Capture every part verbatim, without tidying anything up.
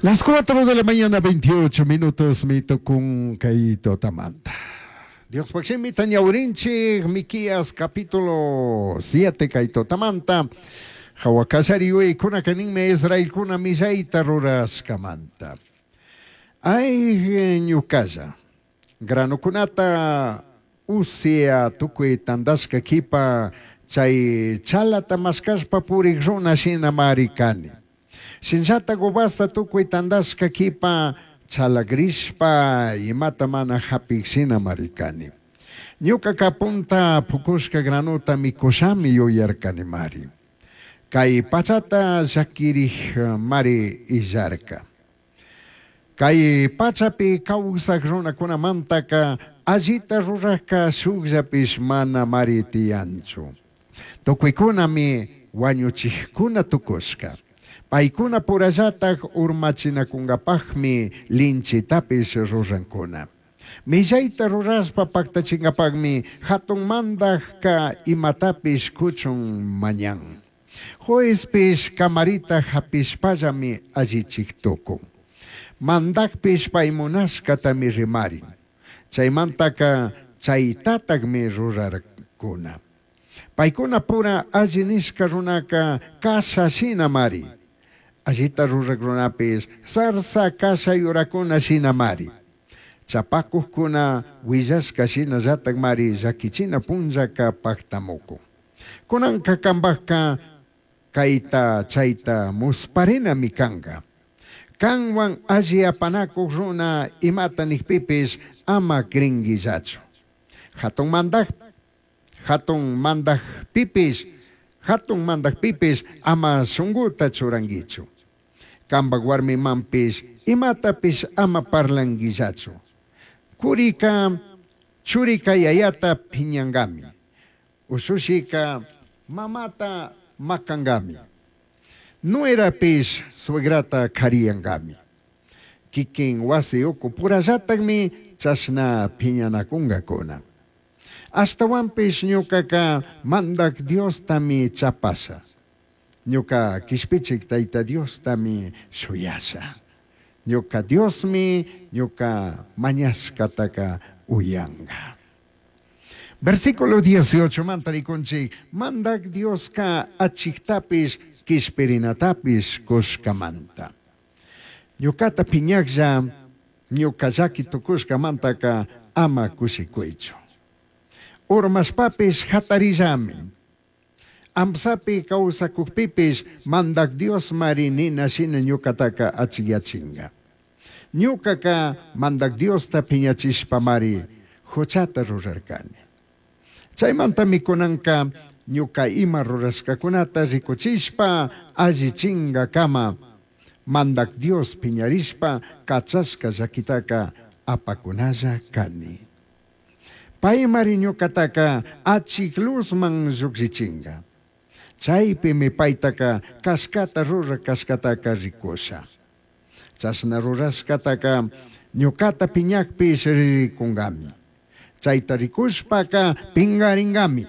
Las cuatro de la mañana, veintiocho minutos, mi tukun kay tutamanta. Diospaj shimita ñawirinchij, Miqueas capítulo siete kay tutamanta. Jahua kallari yuyaykunaka ninmi Israelcuna millaita rurashcamanta. Ay, ñucalla, granocunata usia tucui tandashca quipa chay chalata mashcashpa purik runa shinamari cani. Shinllata uvasta tucui tandashca quipa chalagrishpa imata mana japik shinamari cani. Ñucaca punta pucushca granota micushami yuyarcanimari. Cai pachata llaquirij mari illarca. Cai pachapi causaj runacunamantaka allita rurajka shujllapish mana mari tiyanchu. Tucuicunami huañuchijcuna tucushca. Paicuna purallataj urmachinacungapajmi linchitapish rurancuna. Millaita rurashpa pactachingapajmi jatun mandajka imatapish cuchun mañan. Juezpish camarita japishpallami allichij tucun. Mandajpish pai munashcatami rimarin. Chaimantaka chaitatajmi rurarcuna. Paicuna pura alli nishca runaka kasha shinamari. Allita ruraj runapish zarza kasha yurakuna shinamari. Chapacujcuna huillashca shinallatajmari llaquichina punllaka pactamucun. Cunanca cambajca caita chaita musparinami canga. Canhuan alli apanacuj runa imata nijpipish ama cringuillachu. Jatun mandaj, jatun mandajpipish, jatun mandajpipish ama shunguta churanguichu. Cambaj warmimanpish imatapish ama parlanguillachu. Curica churica yayata piñangami. Ushushika mamata macangami. Nuerapish suegrata kariyangami. Kikin wasi uku purallatajmi chashna piñanacungacuna. Ashtahuanpish ñucaca Mandaj Diostami chapasha. Ñuca quishpichij Taita Diostami shuyasha. Ñuca Diosmi ñuca mañashcataca uyanga. Versículo dieciocho manta rikunchik, Mandaj Diosca achijtapish quishpirinatapish cushcamanta. Ñucata piñajlla, ñuca llaqui tucushcamantaca ama cushicuichu. Urmashpapish jatarillami. Amsapi causacujpipish Mandaj Dios mari nina shina ñucataca achiyachinga. Ñucaca Mandaj Diosta piñachishpamari juchata rurarcani. Chaimantami cunanca ñuca ima rurashcacunata ricuchishpa allichingacama Mandaj Dios piñarishpa cachashca llaquitaca apacunalla cani. Paimari ñucataca achij luzman llujshichinga. Chaipimi paitaca cashcata rura cashcataca ricusha. Chashna rurashcataca ñucata piñajpish ricungami. Chaita ricushpaca pingaringami.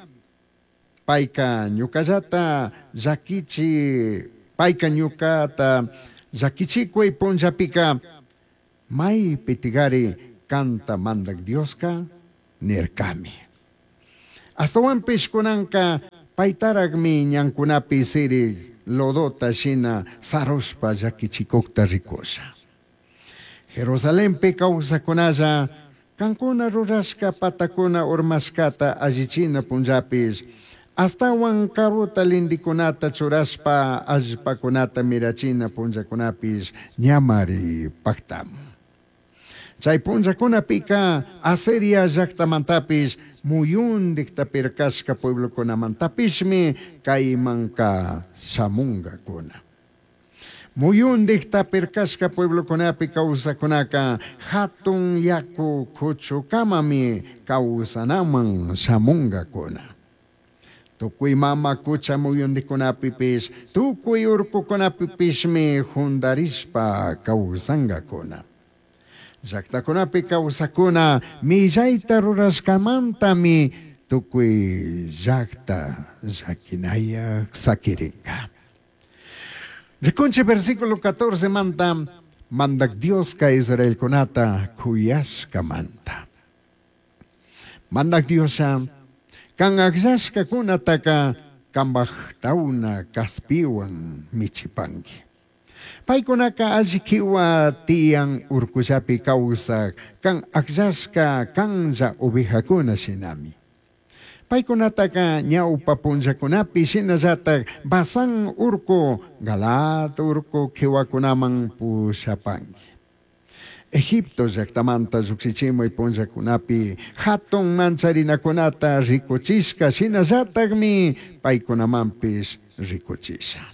Paica ñucallata llaquichi, paica ñucata llaquichicui punllapica maipi tigari canta Mandaj Diosca nircami. Ashtahuanpish cunanca paitarajmi ñancunapi sirij lodota shina sarushpa llaquichicujta ricusha. Jerusalenpi causacunalla cancuna rurashca patacuna urmashcata allichina punllapish ashtahuan caruta lindicunata churashpa allpacunata mirachina punllacunapish ñamari pactamun. Chay punllacunapica Asiria llactamantapish muyundijta pircashca pueblocunamantapishmi caimanca shamungacuna. Muyundijta pircashca pueblocunapi causacunaca jatun yacu cuchucamami causanaman shamungacuna. Tucui mama cucha muyundicunapipish, tucui urcucunapipishmi jundarishpa causangacuna. Llactacunapi causacuna millaita rurashcamantami tucui llacta llaquinayaj saquiringa. Rikunchik versículo catorce manta Mandak Dioska Israelkunata kuyashkamanta. Mandak Diosha kan akllashkakunataka kambaj tawna kaspiwan michipanki. Paykunaka alli kiwa tiyan urkullapi kawsak kan akllashka kanlla ovejakuna shinami. Paykunataka ñawpa punllakunapi shinallatak Basán urku, Galaad urku kiwakunaman pushapanki. Egipto llaktamanta llukshichimuy punllakunapi hatun mancharinakunata rikuchishka shinallatakmi paykunamanpish rikuchisha.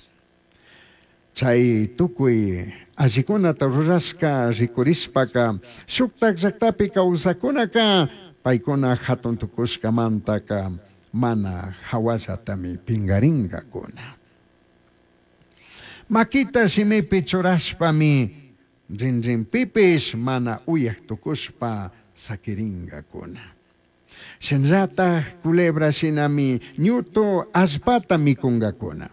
Chay tukuy allikunata rurashka rikurishpaka shuktak llaktapi kawsakunaka paykuna hatun tukushkamantaka mana hawallatami pinqarinkakuna. Makita shimipi churashpami rinrinpipish mana uyak tukushpa sakirinkakuna. Shinallatak culebra shinami ñutu allpata mikunkakuna.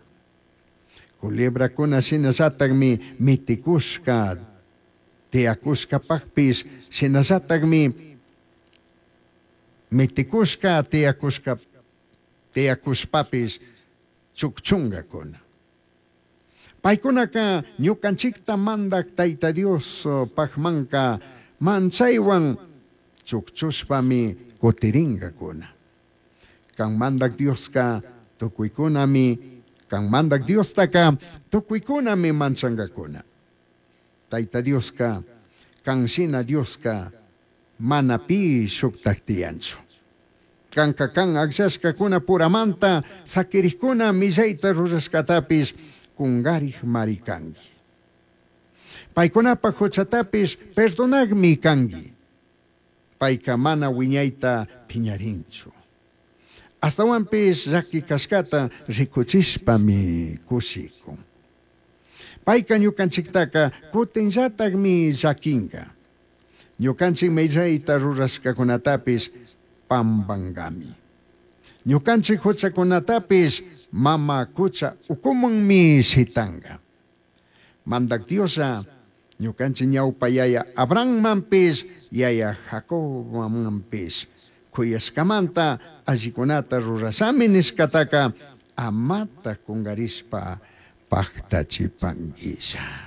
Culebrakuna shinallatakmi mitikushka tiyakushkapakpish shinallatakmi mitikushka tiyakushka tiyakushpapish chukchunkakuna. Paykunaka ñukanchikta mandak Tayta Dios pakmanka manchaywan chukchushpami kutirinkakuna. Kan mandak Dioska tukuykunami, kan mandak Diostaka tukuykunami manchankakuna. Tayta Dioska, kan shina Dioska mana pi shuktak tiyanchu. Kanka kan akllashkakuna puramanta sakirikkuna millayta rurashkatapish kungarik mari kanki. Paykunapak huchatapish perdonakmi kanki. Payka mana wiñayta piñarinchu. Astawanpish llaki kashkata rikuchishpami kushikun. Payka ñukanchiktaka kutinllatakmi llakinka. Ñukanchik millayta rurashkakunatapish pambankami. Ñukanchik huchakunatapish mama kucha ukumanmi shitanka. Mandak Dioslla ñukanchik ñawpa yaya Abrahammanpish yaya Jacobmanpish kuyashkamanta allikunata rurashami nishkataka amata kunkarishpa paktachipankisha.